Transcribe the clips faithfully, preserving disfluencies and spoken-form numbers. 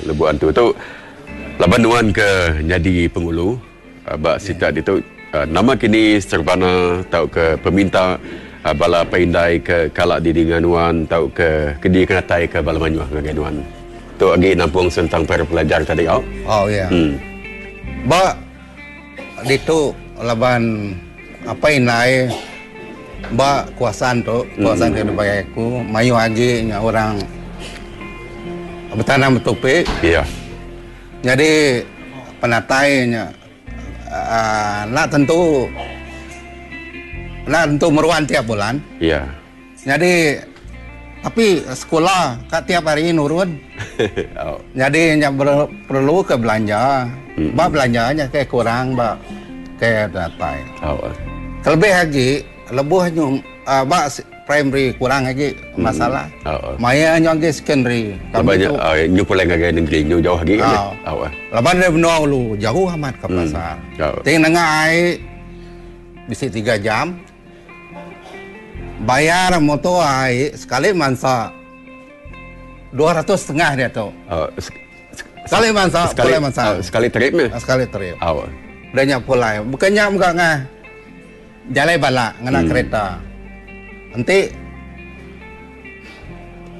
Lubok Antu tu laban nuan ke nyadi pengulu uh, ba sitak ditu uh, nama kini serbana tauka peminta uh, bala apai indai ke kala didinga nuan tauka ke dikenatai ke bala mayuh ngagai nuan. Tu agi nampung sentang pekara pelajar tadi au. Oh ya. Hmm. Ba ditu laban apai indai ba kawasan tu, kawasan ke dibai aku, mayuh agi nya orang betanam betupi. Ya. Jadi penatai nya uh, nak tentu nak tentu meruan tiap bulan. Ya. Jadi tapi sekolah kat tiap hari nurun. Oh. Jadi nya ber, perlu ke belanja. Mm. Ba belanjanya ke kurang ba ke datai. Oh. Kelebih lagi lebuh nyu uh, ba primary kurang lagi masalah. Oh. Maya nyu agi secondary. Kami Banyak tu uh, nyu pulai ngagai negeri nyu jauh lagi kan? Oh. Oh. Laban dia menua ulu jauh amat ke pasar. Oh. Ting nengah ai bisi tiga jam. Bayar motor ai sekali mansa dua ratus setengah dia tu. Oh. sek- Sekali mansa, Sekali pulai mansa. uh, sekali trip ni. Sekali trip. Oh. Udah nya pulai. Bukannya muka ngah jalai balak ngena Hmm. kereta. Nanti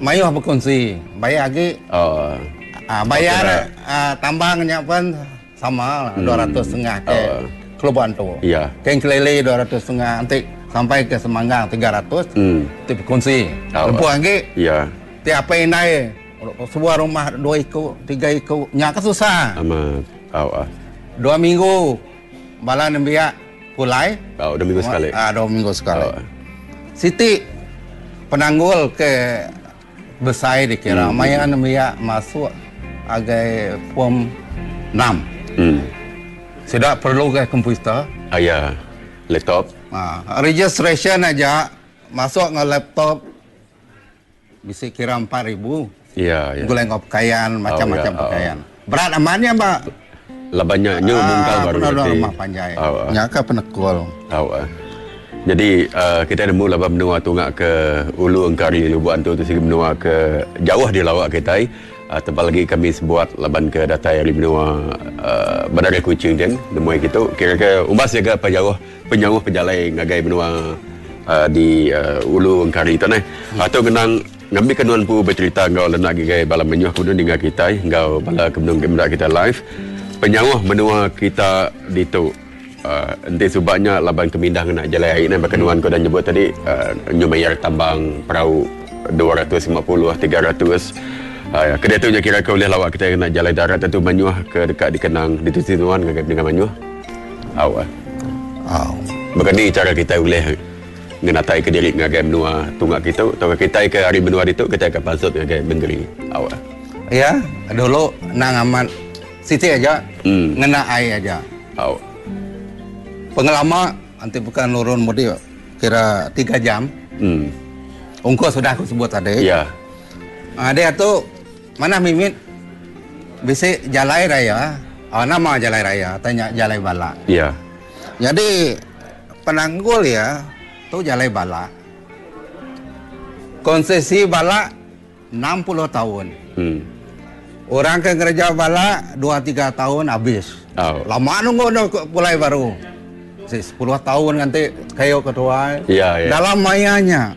mayuh berkongsi, bayar lagi. Oh. Ah, bayar ah, tambangnya pun sama lah, dua ratus setengah ke Oh. Lubok Antu. Ya. Ke Engkilili dua ratus setengah, nanti sampai ke Semanggang tiga ratus. Hmm. Nanti berkongsi. Oh. Lepas lagi, Ya. tiap apa indai sebuah rumah dua ikut, tiga ikut, nyak susah. Amat. Oh. ah. Dua minggu bala nembiak pulai. Oh, dua minggu sekali. Ah, dua minggu sekali. Oh. Siti penanggul ke besar dikira. Hmm. Maya nembiak masuk agai form enam. Hmm. Sudah perlu ke komputer. Ah, ya. Laptop. Ah, registration aja masuk nge laptop bisa kira empat ribu. Ya, ya. Gulai ngau pakaian, macam-macam Oh, ya. pakaian. Berat amannya, Mbak. Labannya nyu mungkal baru Ah, nanti. rumah panjai. Oh, ah. Nya ke penekul. Oh, ah. Jadi uh, kita nemu laban menua tungak ke Ulu Engkari Lubuk Antu tu sigi menua ke jauh di lawak kita. Uh, tebal lagi kami sebuat laban ke datai ari menua uh, Bandar Kuching din nemu gitu. Kira-kira umbas jaga apa jauh penyauh pejalai ngagai menua uh, di uh, Ulu Engkari tu neh. Hmm. Atau genang ngambil ke nuan pu bercerita ngau lenak gigai bala menyuh kudu dengar kita ngau bala kemenung kemendak kita live. Penyauh menua kita ditu. Uh, enti subaknya laban kemindah ngena jalai air ni bahkan nuan kau dah nyebut tadi uh, nyu bayar tambang perahu dua ratus lima puluh, tiga ratus. Uh, ya, kedai tu nya kira ke boleh lawak kita kena jalai darat tentu manyuh ke dekat dikenang di tu tuan dengan dengan manyuh. Au. Au. Bukan ni cara kita boleh ngenatai ke diri ngagai menua tunggak kita atau kita ke hari menua itu kita akan pasut ngagai negeri. Au. Ya, dulu nang amat siti aja, Hmm. ngena air aja. Au. Pengelama nanti bukan nurun mudi kira tiga jam. Hmm. Ongkos sudah aku sebut tadi. Ya. Ah, dia tu mana mimit bisi jalai raya. Ah, nama jalai raya, tanya jalai balak. Ya. Jadi penanggul ya tu jalai balak. Konsesi balak enam puluh tahun. Hmm. Orang ke kerja balak dua tiga tahun habis. Oh. Lama nunggu dah pulai baru. Si sepuluh tahun nanti kayu ketua. Ya, ya. Dalam mayanya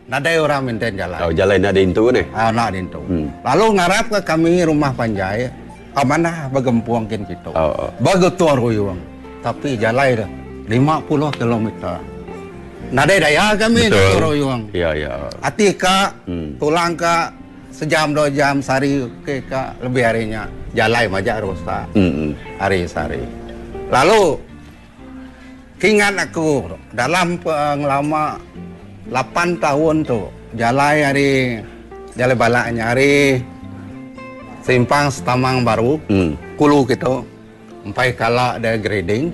nadai orang minta jalan. Oh, jalan nak dintu ni. Ah, nak dintu. Hmm. Lalu ngarap ke kami rumah panjai, amanah bergempuang kin kita. Oh, oh. Bagetuar ruyung. Tapi jalan dah lima puluh kilometer. Nadai daya kami Betul. ruyung. Ya, ya. Ati ka, Hmm. tulang ka sejam dua jam sehari ke ka lebih harinya jalai majak rosak. Hmm, hmm. Hari sehari. Lalu ingat aku dalam pengelama lapan tahun tu jalai hari jalai balaknya hari simpang Setamang Baru, Hmm. Kulu kita empai kala ada grading.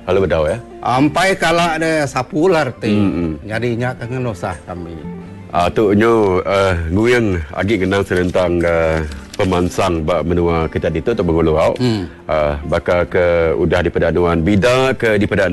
Lalu bedau ya. Empai kala ada sapu lah arti. Hmm, hmm. Jadinya kan usah kami. Ah, tu nyu, uh, nguyeng agi kenang serentang, uh, pemansang ba menua kita ditu tu Bengulu au. Hmm. Uh, baka ke udah di pedanuan bida ke di pedanuan